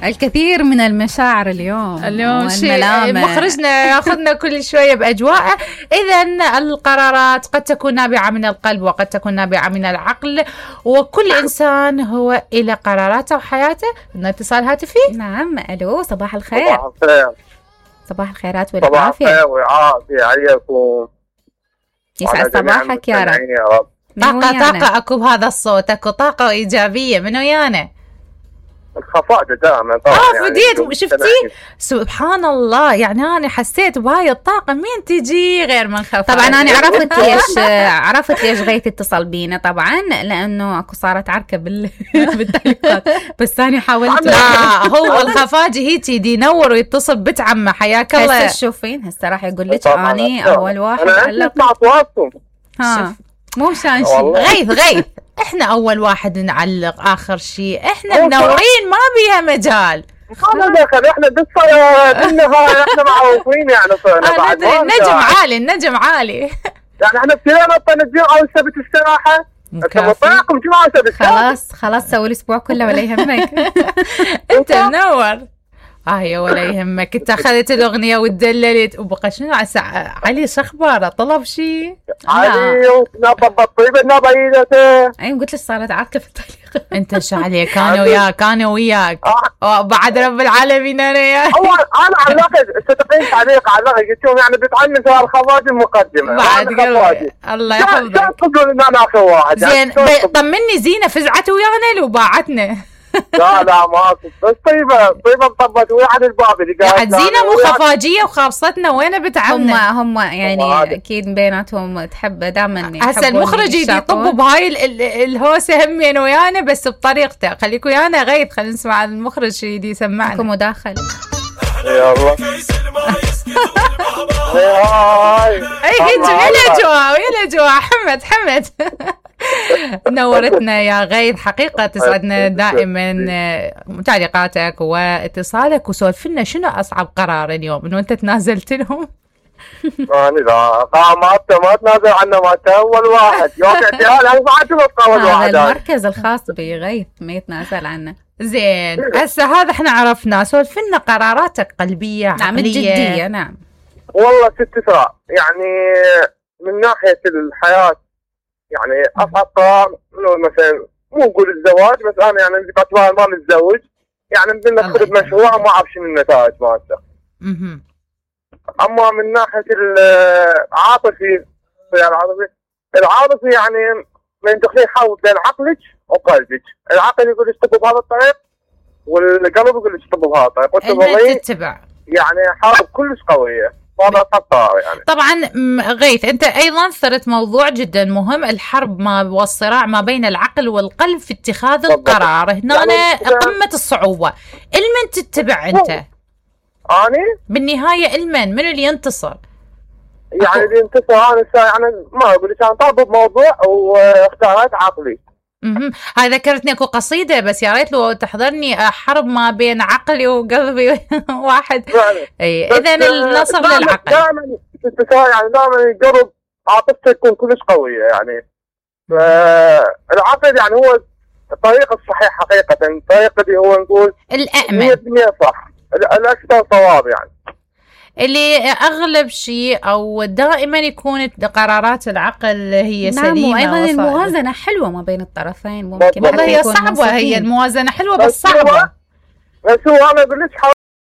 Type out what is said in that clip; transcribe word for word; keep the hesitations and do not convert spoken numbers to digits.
الكثير من المشاعر اليوم اليوم شيء مخرجنا ياخذنا كل شويه باجواءه. اذا القرارات قد تكون نابعه من القلب وقد تكون نابعه من العقل، وكل انسان هو الى قراراته وحياته. لنا اتصال هاتفي. نعم، الو، صباح الخير. صباح الخير. صباح الخيرات والعافيه. صباح الخير والعافيه عليكم. يسعد صباحك يا رب. طاقه طاقه اكو بهذا الصوت، اكو طاقه ايجابيه من ويانا. الخفاء دائما طبعا. اه فديت يعني شفتي سبحان الله، يعني انا حسيت بهاي الطاقه مين تجي غير من خفاء. طبعا انا عرفت ليش عرفت ليش غيث اتصل بينا، طبعا لانه اكو صارت عركه بال بالتعليقات، بس انا حاولت. لا هو الخفاجي هيك يدي ينور ويتصل بنت عمه. حياك الله. هسه تشوفين هسه راح يقول لك اني اول واحد علق. انا ها مو مشان شيء. غيث غيث احنا اول واحد نعلق، اخر شيء احنا منورين ما بيها مجال. ما دخل احنا بالصلاة بالنهار احنا معروفين يعني صرنا بعد. النجم عالي، النجم عالي. يعني احنا ابتدينا نطلع الجمعة والسبت الصراحة. انت مطلعكم جمعة وسبت. خلاص خلاص سوي الاسبوع كله ولا يهمك. انت منور. اه يا ولا يهمك. انت اخذت الاغنيه وتدللت وبقى شنو عسى علي شخباره طلب شيء علي ونبض الطيبه نبيدته. اي قلت لك صارت عركه في التعليق. انت شو عليك؟ انا وياك انا وياك بعد رب العالمين انا وياك. هو انا علقت صدقين تعليق علقت قلت لهم يعني بتعلم سؤال الخواجه المقدمه بعد الله يحفظك. شو تقولون ان انا اخر واحد؟ زين طمني زينه فزعت ويانا لو باعتنا. لا لا ما بس طيبه طيبه مطبت وياحد الباب اللي قاعد زينه مو خفاجيه وخابصتنا وين بتعبنا. هم هم يعني اكيد بيناتهم تحب دائما. هسه المخرج يطب بهاي الهوسه همين ويانا بس بطريقته. خليك ويانا غيث، خلينا نسمع المخرج شي يدي يسمعنا. اكو مداخله. يلا اي هيك ويا جوا ويا جوا. حمد حمد نورتنا يا غيث حقيقة. تسعدنا دائما تعليقاتك واتصالك. وسولف لنا شنو أصعب قرار اليوم إنه أنت تنازلت لهم؟ أنا لا ما ما تنازل عنه. ما أول واحد يوم اعتيال أنا ما أعتبر أول واحد. هذا المركز الخاص بغيث ما يتنازل عنه. زين هسه هذا احنا عرفناه. سولف لنا قراراتك قلبية نعم عقلية. جدية. نعم والله ست ساعة يعني من ناحية الحياة يعني أصعب قرار إنه مثلا مو نقول الزواج، بس أنا يعني باعتبار ما متزوج يعني بدنا ندخل بمشروع وما أعرف شنو النتائج مالته. أما من ناحية العاطفي العاطفي العاطفي يعني من تخلي حول بين عقلك وقلبك. العقل يقول اشتغل بهذا الطريق والقلب يقول اشتغل بهذا الطريق وانت تتبع. يعني حرب كلش قوية. هذا خطر يعني. طبعا غيث انت ايضا ثرت موضوع جدا مهم، الحرب ما والصراع ما بين العقل والقلب في اتخاذ القرار. هنا يعني قمة الصعوبة. المن تتبع انت؟ اني بالنهاية المن من اللي ينتصر؟ يعني اللي ينتصر انا يعني ما اقول لك انا طالب بموضوع واختارت عقلي. امم هاي ذكرتني اكو قصيده بس يا ريت لو تحضرني. حرب ما بين عقلي وقلبي واحد. اي اذا النصر للعقل. دائما يعني دائما القلب عاطفته تكون كلش قويه يعني. فالعقل يعني هو الطريق الصحيح حقيقه، الطريق اللي هو نقول الامن مية بالمية صح، الاكثر صواب يعني. اللي اغلب شيء او دائما يكون قرارات العقل هي نعم. سليمه. وايضا الموازنه حلوه ما بين الطرفين. ممكن والله هي صعبه. هي الموازنه حلوه بس صعبه. بس هو انا اقول لك